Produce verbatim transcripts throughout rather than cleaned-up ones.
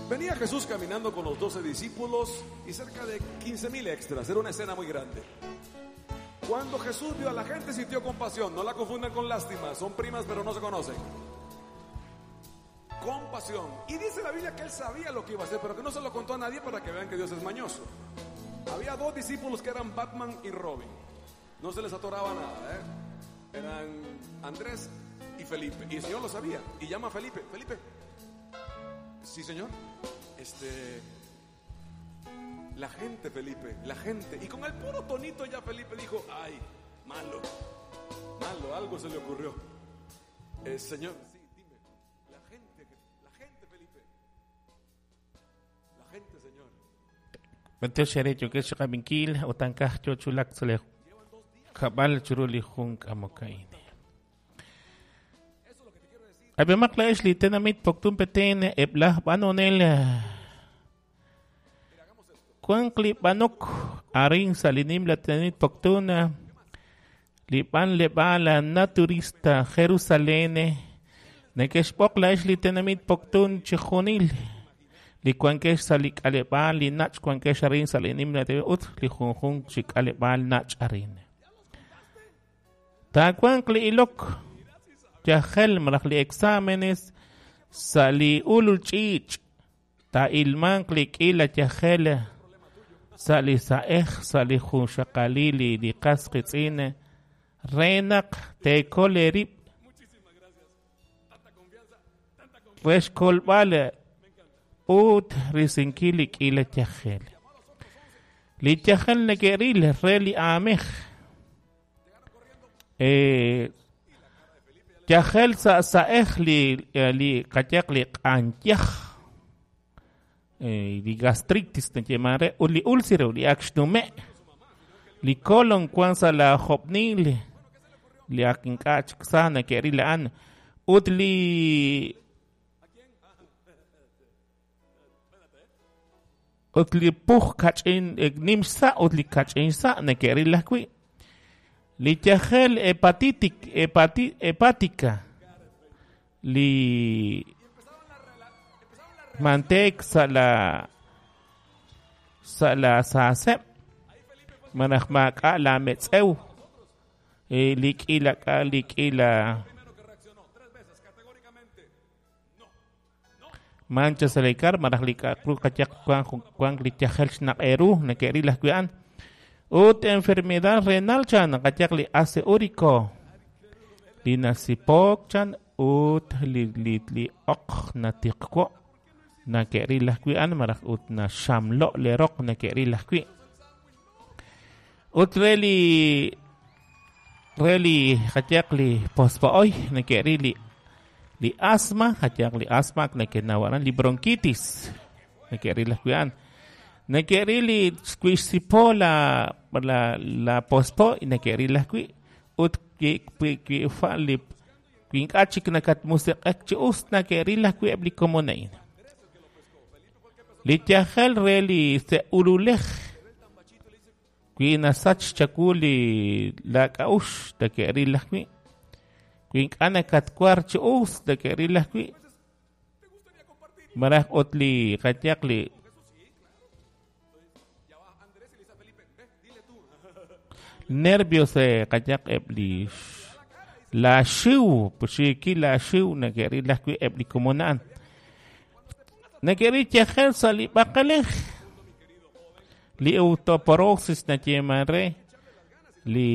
Venía Jesús caminando con los doce discípulos y cerca de quince mil extras. Era una escena muy grande. Cuando Jesús vio a la gente, sintió compasión. No la confundan con lástima. Son primas, pero no se conocen. Compasión. Y dice la Biblia que él sabía lo que iba a hacer, pero que no se lo contó a nadie para que vean que Dios es mañoso. Había dos discípulos que eran Batman y Robin. No se les atoraba nada, ¿eh? Eran Andrés y Felipe. Y el Señor lo sabía. Y llama a Felipe. Felipe. Sí, Señor. Este... La gente, Felipe, la gente. Y con el puro tonito ya Felipe dijo, ay, malo, malo, algo se le ocurrió. Eh, señor, sí, dime, la gente, la gente, Felipe, la gente, Señor. Kuan klipanok arin sa linim la tenit poktuna lipan lebala naturista Jerusalén nekexpok la li tenamit poktun chijunil li kuankex sa li kalebal li nach kuankex arin sa linim la te ut li junjun chikalebal nach arin ta kuan kli ilok yajel maraj li exámenes sa li ulul chich ta ilman kli kila yajel sali saej sali junxaqalili li qasqitz'in renaq tekolerib rexkolb'al ut risinkil li k'ila yajel li yajel neke'ril re li aamej eh yajel sa saej li li qachaq li q'anyaj Eh, li gastritis nechemare u li úlcero li akxnume li colon kwan sa la jobnil li akink'ach ksana ke'ril an ut li ut li puj kach'in nimsa ut li kach'in sa neke'ril ajwi' li yajel hepatitic hepati, hepática li mantek sa la sa la sasep manaj maka la metzeu eh, likila ka likila mancha salekar manaj lika kru kachak kuan kuan lichajel xnaq'eru neke'ril ajwi'an ut enfermedad renal chan kachak li ace úrico li nasipok chan ut li li li oq natiqko nake'ril ajwi'an maraj ut na xamlo le roq nake'ril ajwi' ut re li re li jachaq li pospo'oy nake'ril li li asma jachaq li asma nake'nawaran li bronquitis nake'ril ajwi'an nake'ril li xkuixsipo la la la pospo nake'ril ajwi' ut ki ki fa li ink'a' chik nakatmusiq'ek chi us nake'ril ajwi' eb' li komona'in li yajel re li se'ululej wi nasach chaku li lak'a'ux take'ril ajwi' wi ink'a' nakatkuar chi us take'ril ajwi' maraj ut li qachaq li nervios qachaq eb' li la xiw puxiki la xiw nake'ril ajwi' eb' li komona'an Neke'ril yajel sa li b'aqalej li osteoporosis nayeeman re li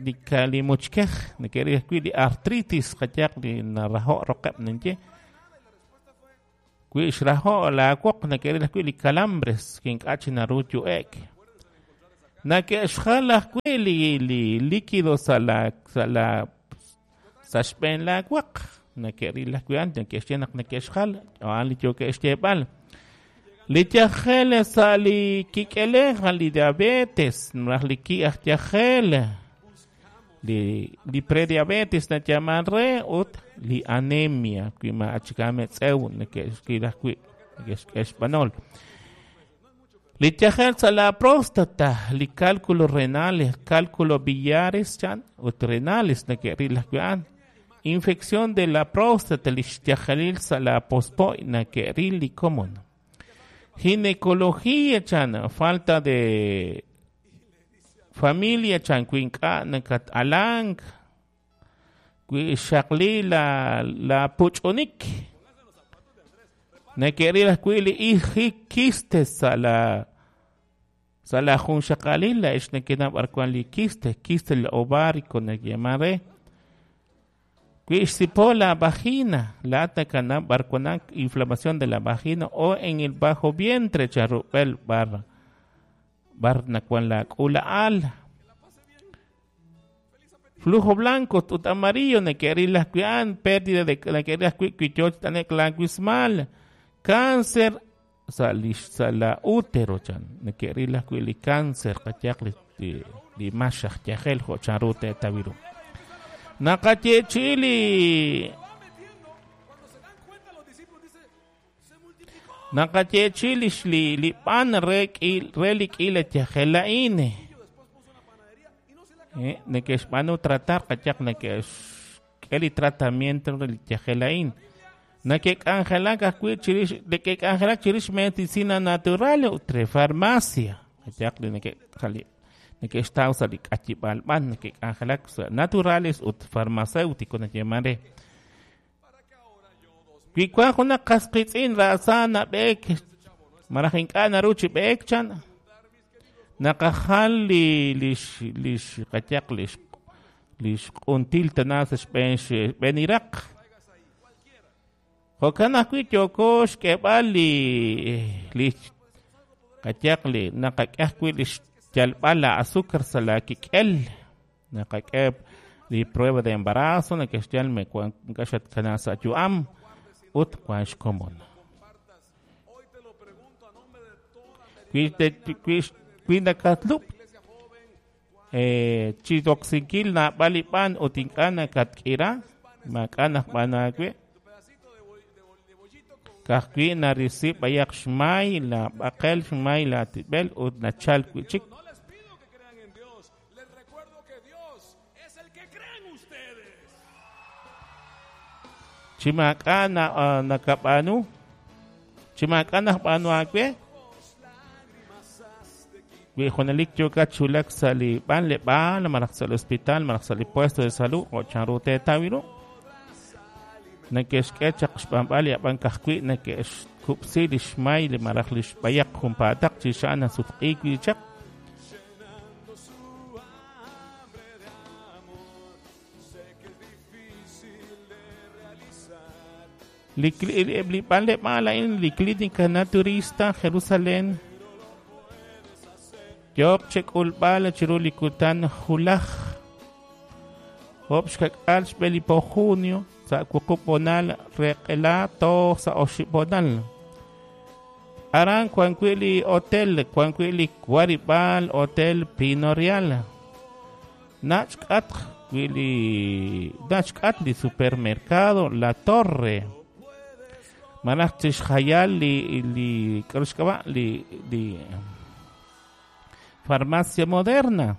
li li muchkej neke'ril ajwi' li artritis qachaq li narajo' roqeb' ninye wi xrajo' la woq neke'ril ajwi' li calambres kink'a' chi naru yu'ek nake'xjal ajwi' li li líquido sa la sa la sa xb'een la waq nake'ril ajwi'an neke'xye naq neke'xjal a'an li yoke'xyeeb'al li yajel sa li kik'elej li diabetes maraj li ki aj yajel li li prediabetes nayaman re ut li anemia wi ma'achikametz'ew neke'xkil ajwi' neke'xk'exb'anol li yajel sa la próstata li cálculo renales cálculo biliares chan ut renales neke'ril ajwi'an Infección de la próstata li xyajalil sa' la pospo' nake'ril li komon. Ginecología chan, falta de familia chan, wi ink'a' nakat-alank, wi xaqli la la puch'unik. Nake'ril ajwi' li iji quistes sa' la sa' la junxaqalil la ix nakenab' b'ar wan li quiste, quiste el ovárico nake'yaman re. Wi xsipo la vagina, la atacanab' b'ar wan inflamación de la vagina o en el bajo vientre charrub'el bar bar nakuan la k'ula'al. Flujo blanco ut amarillo nake'ril ajwi' an pérdida de nake'ril ajwi' wi yoch t'anek la wismal. Cáncer sa' li sa' la útero chan nake'ril ajwi' li cáncer qayaq li li maxaj yajel jo' chanru te'tawiru. Naqayeechi li naqayeechi li li li b'an re k'il re li k'ila yajel a'in. Eh, neke'xb'aanu tratar qayaq neke'xk'e li tratamiento re li yajel a'in. Nake'k'anjelak ajwi' chirix neke'k'anjelak chirix medicina natural ut re farmacia. Qayaq li neke'jali neke'xtaw sa' li k'ayib'al b'an neke'k'anjelak sa' naturales ut farmacéutico nayeman re. Wi wan junaq qas qitz'in ra'sa nab'eek maraj ink'a' naru chi b'eek chan naqajal li lix lix qayaq lix lix q'until tana sa' xb'een xb'een iraq. Jo'kan ajwi' yooko xk'eeb'al li li qayaq li naqak'e ajwi' li yalb'al la azúcar sa' la kik'el. Naqak'e li prueba de embarazo neke'xyal me wan ink'a' xatkana sa' yu'am ut wan xkomon. Wi te wi wi nakatlub' eh chidoksinkil naab'al li b'an ut ink'a' nakatk'ira maak'a' naj b'aan aawe'. Ka'ajwi' narisi b'ayaq xmay la b'aqel xmay la tib'el ut nachal wi' chik. Chi maak'a' na uh, nakab'aanu chi maak'a' naj b'aanu aawe' wi junelik yookat chulak sa' li b'anleb'aal malaj sa' li hospital malaj sa' li puesto de salud jo' chanru teetawiru. Neke'xk'e chaq xb'anb'al li ab'an ka'ajwi' neke'xkub'si li xmay li malaj li xb'ayaq junpaataq chi xa'an nasutq'iik wi' chaq. Li li b'anleb'aal a'in li Clínica Naturista Jerusalén yooq chek'ulb'al chiru li kutan julaj job' xkak'al xb'e li po junio sa' wuqub' bonal req'ela toj sa' oxib' bonal. Aran wan wi' li hotel wan wi' li warib'aal Hotel Pino Real. Nach k'atq wi' li nach k'at li supermercado La Torre. Malaj chixjayal li li k'aru xk'ab'a' li li Farmacia Moderna.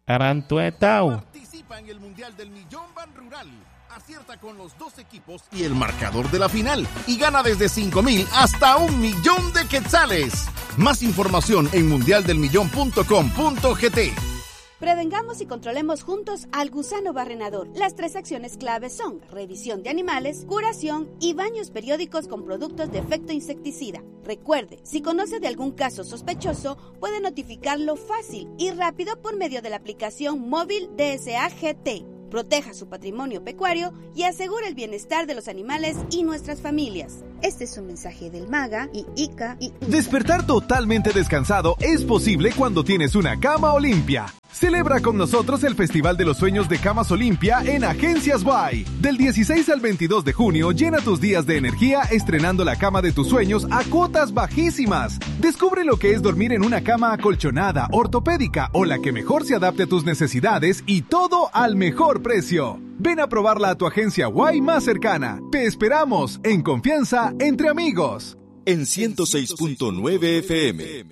Aran tuetaw. Participa en el Mundial del Millón Ban Rural. Acierta con los dos equipos y el marcador de la final y gana desde cinco mil hasta un millón de quetzales. Más información en mundial del millón punto com punto g t. Prevengamos y controlemos juntos al gusano barrenador. Las tres acciones claves son revisión de animales, curación y baños periódicos con productos de efecto insecticida. Recuerde, si conoce de algún caso sospechoso, puede notificarlo fácil y rápido por medio de la aplicación móvil D S A G T. Proteja su patrimonio pecuario y asegure el bienestar de los animales y nuestras familias. Este es un mensaje del MAGA y I C A y... Despertar totalmente descansado es posible cuando tienes una cama Olimpia. Celebra con nosotros el Festival de los Sueños de Camas Olimpia en Agencias Y. Del dieciséis al veintidós de junio, llena tus días de energía estrenando la cama de tus sueños a cuotas bajísimas. Descubre lo que es dormir en una cama acolchonada, ortopédica o la que mejor se adapte a tus necesidades y todo al mejor precio. Ven a probarla a tu agencia Y más cercana. Te esperamos en confianza entre amigos. En ciento seis punto nueve F M.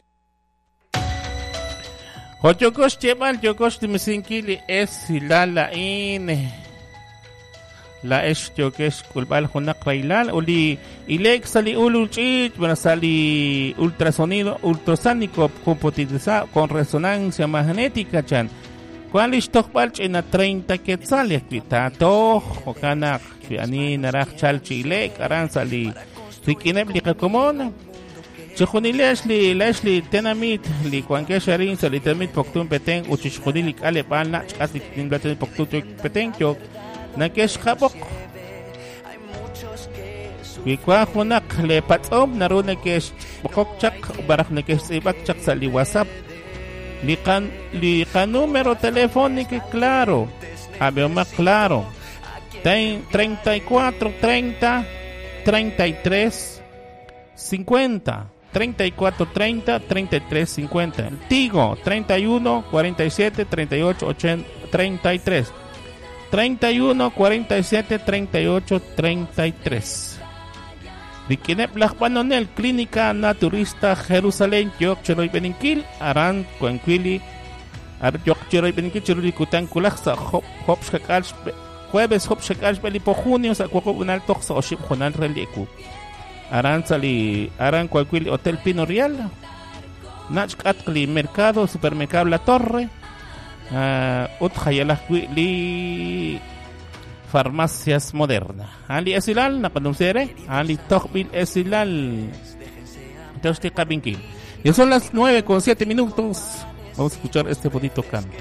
Joyokox yebal yokox timisinkili es silala ine. Laa'ex yookex xk'ulb'al junaq rahilal ut li ile'k sa' li ulul ch'iich' malaj sa' li ultrasonido ultrasónico computarizado con resonancia magnética chan. Wan li xtojb'al ch'ina treinta quetzales wi taatoj jo'kan naq wi ani naraj chal chi ile'k aran sa' li rik'ineb' li qakomon. Chixjunilex li laa'ex li tenamit li wankex arin sa' li tenamit Poptún Petén ut chixjunil li k'aleb'aal nach' xk'as li tenamit Poptún Petén yook nakexqab'oq. Wi wan junaq le patz'om naru nakexb'oqok chaq malaj nakextz'iib'ak chaq sa' li WhatsApp. Li qan li qanúmero telefónico claro, ab'eomaq claro, treinta y cuatro treinta treinta y tres cincuenta, treinta y cuatro treinta treinta y tres cincuenta. El Tigo treinta y uno cuarenta y siete treinta y ocho ochenta treinta y tres. treinta y uno cuarenta y siete treinta y ocho treinta y tres. Rikineb laj b'anonel Clínica Naturista Jerusalén yook chiroy b'eninkil aran kuankuili ar yook chiroy b'eninkil chiru li kutan kulaj sa' job job xkak'al jueves job xkak'al xb'eli po junio sa' wuqub' unal toj sa' oxib' junal re li eku aran sa' li aran kuankuili Hotel Pino Real nach k'atq li mercado supermercado La Torre ut jayalaj wi' li Farmacias Moderna. Ali esilal naqanumsere, ali tojbil esilal. Entonces, y son las nueve con siete minutos. Vamos a escuchar este bonito canto.